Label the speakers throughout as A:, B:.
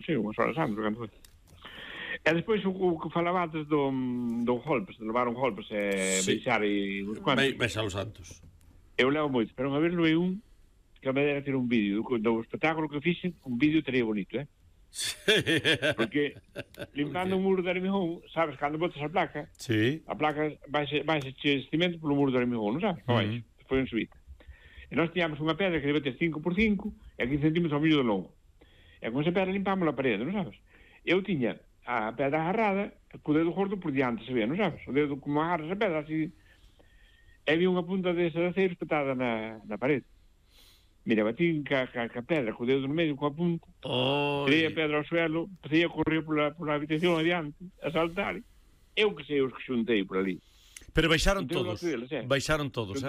A: Sí, unhas horas antes, cando foi. E despois o que falabades do golpes, de levar un golpes e beixar e uns cuantos.
B: Beixa os santos.
A: Eu levo moito, pero unha vez levei un que me dera ter un vídeo do espectáculo que fixen, un vídeo teria bonito,
B: Sí.
A: Porque limpando un muro de Armijón, sabes, cando botas a placa,
B: Sí.
A: a placa vais che cimento polo muro de Armijón, non sabes? Baixo, foi en subida. E nós tiñamos unha pedra que debe ter 5x5 e 15 centímetros ao millo de longo. E con esa pedra limpamos a parede, non sabes? Eu tiña a pedra agarrada co dedo gordo por diante, se ve, non sabes? O dedo como agarras a pedra, así. E vi unha punta desa de aceiro espetada na parede. Mira, batín ca pedra, co dedo no medio, coa punta. Tirei a pedra ao suelo, empecé a correr pola habitación adiante, a saltar. Eu que sei os que xuntei por ali.
B: Pero baixaron todos. Baixaron todos,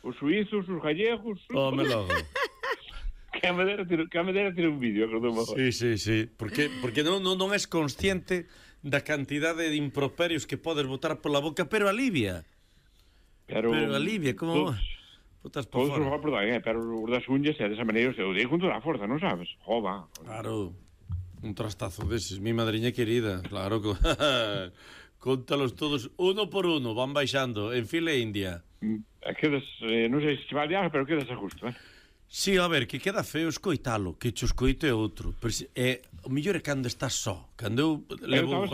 A: Os suizos, os gallegos...
B: Me logo.
A: Que a me dera ter un vídeo, acordou mejor.
B: Sí. Porque non és consciente da cantidade de improperios que podes botar pola boca, pero alivia. Pero alivia, como... Botas por fora.
A: Pero os das unhas é desa maneira, eu dei con toda a forza, non sabes? Jova.
B: Claro. Un trastazo deses, mi madriña querida. Claro que... Contalos todos uno por uno, van baixando en fila india.
A: Quedas, non sei se che vale algo, pero quedas a justo,
B: Sí, a ver, que queda feo escoitalo, que cho escoito é outro. Pero o mellor é cando estás só. Cando eu
A: estaba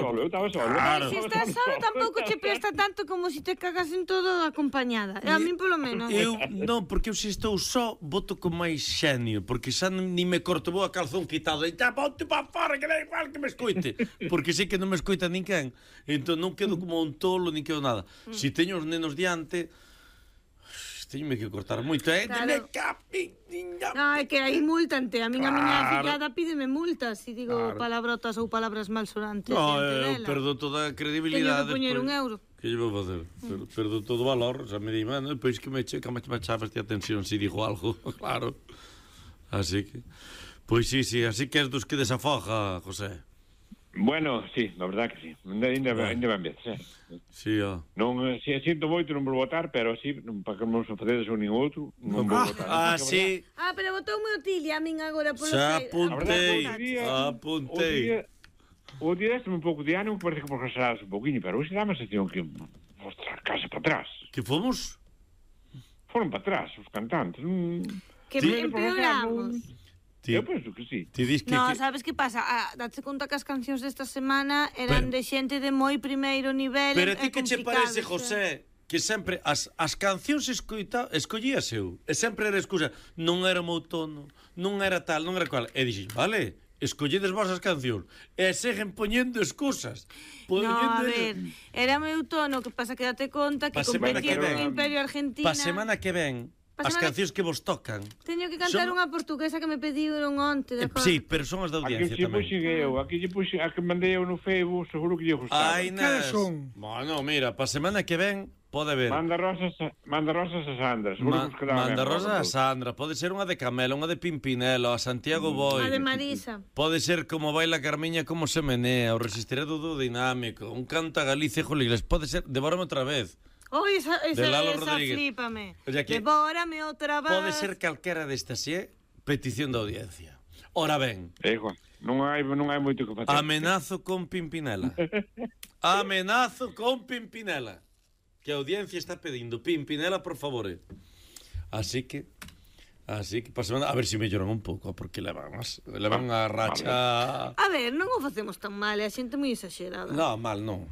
A: solo.
B: Claro.
C: Se estás solo tampouco che presta tanto como se te cagas en todo acompañada. A min polo menos.
B: Non, porque eu se estou só voto con máis xenio, porque xa ni me corto vou a calzón quitado e xa ponte pa fora que da igual que me escoite, porque sei que non me escoita ninguén. Entón non quedo como un tolo, nin quedo nada. Se teño os nenos diante, teñome que cortar moito,
C: Claro. No, é que aí multante. A miña fillada pídeme multas se digo palabrotas ou palabras malsorantes.
B: No, eu perdo toda a credibilidade.
C: Teño que poñer €1.
B: Que lle vou facer? Perdo todo o valor. Xa me di, mano, pois que me chafaste a atención se digo algo, claro. Así que... Pois sí, así que és dos que desafoja, José.
A: Bueno, sí, la verdad que sí. Ainda van ben,
B: Sí,
A: Non, sinto moito non vou votar, pero sí, para que non se facedes un nin outro, non vou votar.
B: Sí.
C: Pero votoume o Tili a min agora polo
B: xa apuntei.
A: O día deste un pouco de ánimo, parece que progresarás un pouquinho, pero hoxe dá a sensación que mostrar casa para atrás.
B: Que fomos?
A: Foron para atrás, os cantantes.
C: Que empeoramos.
A: Eu penso que sí.
C: No, sabes que pasa? Date conta que as cancións desta semana eran de xente de moi primeiro nivel.
B: Pero a ti que che parece, José, que sempre as cancións escollías eu, e sempre era excusa, non era o meu tono, non era tal, non era cual. E dixen, vale, escolledes vos as cancións e seguen poñendo excusas.
C: No, a ver, era o meu tono, que pasa que date conta que competía con Imperio Argentina.
B: Pa semana que ven, as cancións que vos tocan.
C: Teño que cantar unha portuguesa que me pediron onte, de acordo?
B: Sí, pero son as da audiencia tamén.
A: Aquí lle puxen, a que mandei eu no Facebook, seguro que lle gustaba.
B: Cales son? Bueno, mira, pa semana que ven pode haber.
A: Manda rosas a Sandra, seguro que
B: Manda rosas a Sandra, pode ser unha de Camela, unha de Pimpinelo, a Santiago Boi.
C: Unha de Marisa.
B: Pode ser como baila Carmiña, como se menea, o resistirado do dinámico, un canta Galicia Julio Iglesias, pode ser Devórame outra vez.
C: Esa flipame. Devórame outra vez.
B: Pode ser calquera destas, petición da audiencia. Ora ben.
A: Non hai moito que facer.
B: Amenazo con Pimpinela. Amenazo con Pimpinela. Que a audiencia está pedindo Pimpinela, por favor. Así que pasamos a ver se melloran un pouco, porque levan a racha.
C: A ver, non o facemos tan mal, é a xente moi exagerada.
B: No, mal non.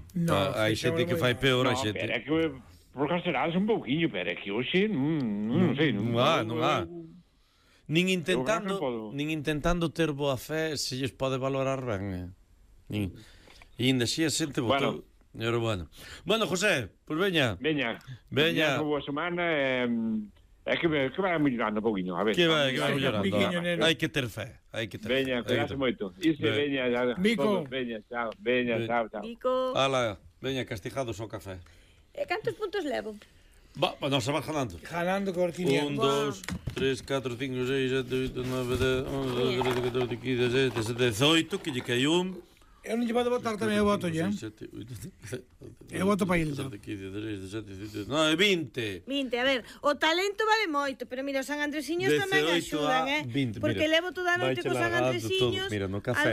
B: Hai xente que fai peor, hai xente.
A: Pero é que procrastinades un pouquiño, pero é que hoxe non sei,
B: non há. Nin intentando ter boa fe se lles pode valorar ben. E ainda así a xente votou. Bueno, José, pois veña.
A: Veña. Boa semana. É que vai mellorando un pouquinho, a ver.
B: Que vai mellorando. Hai que ter fe.
A: Veña, cuidase moito. Veña,
B: Mico.
A: Veña, chao.
C: Mico.
B: Ala, veña, castigados ao café.
C: Cantos puntos levo?
B: Non se va ganando.
D: Ganando Cortiña.
B: 1, 2, 3, 4, 5, 6, 7, 8, 9, 10, 11, 12, 13, 14, 15, 16, 17, 18, que lle cai un.
D: Eu non lle vou votar tamén, eu voto ya. Eu voto para Hilda.
B: 15, 16, 17, 18, 19, 20.
C: A ver, o talento vale moito, pero mira, os San Andresiños tamén axudan,
B: 20,
C: porque levo toda a noite cos San Andresiños.
B: Mira, no café.